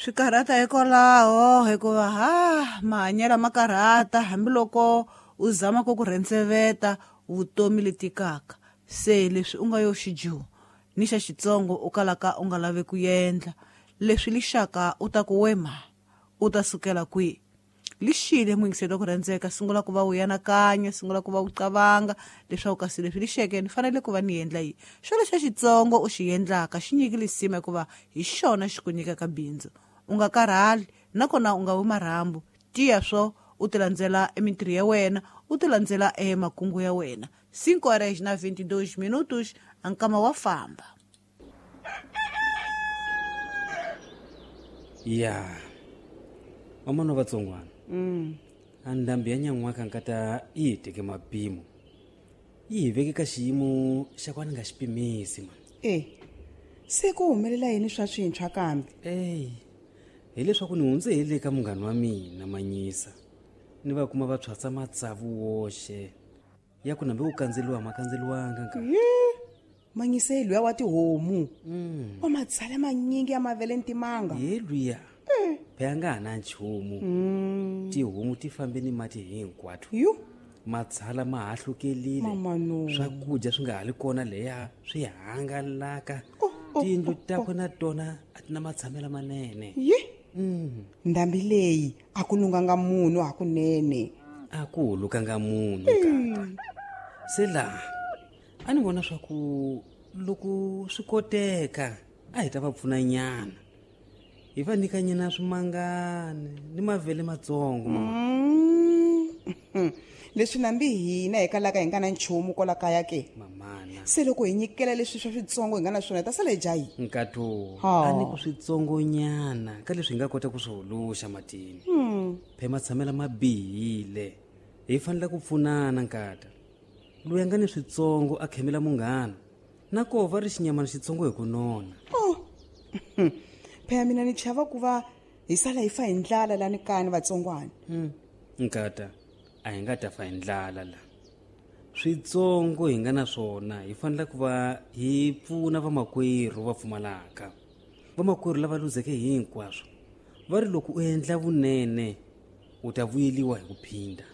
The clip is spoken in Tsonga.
Swi karhata hikwalaho hikuva ha mahanyelo ma karhata hambiloko u zama ku ku rhendzeveta vutomi letikaka. Se leswi u nga yo xijuho ni xa xitsongo u kalaka u nga lavi ku endla leswi lixaka u ta ku wema u ta sukela kwihi. Lixile muyingiseli wa ku rhandzeka, sungula ku va u yanakanya, sungula ku va u qavanga leswaku kasi leswi lixeke ni fanele ku va ni endla yini. Xona xa xitsongo u xi endlaka xi nyiki lisima hikuva hi xona xi ku nyikaka bindzu. U nga karhali nakona u nga wi marhambu, tiya swo u ti landzela emintirho ya wena, u ti landzela emakungu ya wena. 5 horas na 22 minutos, ankama wa famba. Ya vamana vatsongwana, a ndhambi ya nyan'waka nkata yi hi teke mapimo, yi hi veke ka xiyimo xa ku a ni nga xi pimisi mani. E se ku humelela yini swa swintshwa kambe? Eyi, hileswaku ni hundze hi le ka munghana wa mina Manyisa, ni va kuma va tshwatsa matsavu woxe ya ku nambe ku kandzeliwa ma kandzeliwanga nka. Manyisa hi luya wa tihomu wa matshala manyingi ya mavele ni timanga. Ye luya phela nga ha na nchumu, tihomu ti fambe ni mati hinkwato. Yu matshala ma hahlukelile, Mama no. swakudya swi nga ha li kona leya swi hangalaka. Oh, oh, Tiyindlu oh, takwe na tona a ti na matshamelo manene. Ye ndhambi leyi a ku lunganga munhu hakunene. A ku hulukanga munhu kata. Se laha a ni vona swa ku loko swi koteka a hi ta va pfuna nyana, hi va nyika nyana swimangani ni mavele matsongo mama. Leswi nambi hina hi kalaka hi nga na nchumu kwala kaya ke. Mamana. Se loko hi nyikela leswi swa switsongo hi nga na swona hi ta sala hi dya yini? Nkato Ha. a ni ku switsongonyana ka leswi hi nga kota ku swi huluxa matini. Phe matshamela ma bihile, hi fanele ku pfunana nkata. Loyi a nga ni switsongo a khemela munghana, na koho va ri xinyamana xitsongo hi ku nona. Oh. Phela mina ni chava ku va hi sala hi fa hi ndlala lani kaya ni vatsongwana. Nkata a hi nga ta fa hi ndlala la. Switsongo hi nga na swona hi fanele ku va hi pfuna vamakwerhu va pfumalaka, vamakwerhu lava luzeke hinkwaswo. Va ri loko u endla vunene u ta vuyeliwa hi ku phinda.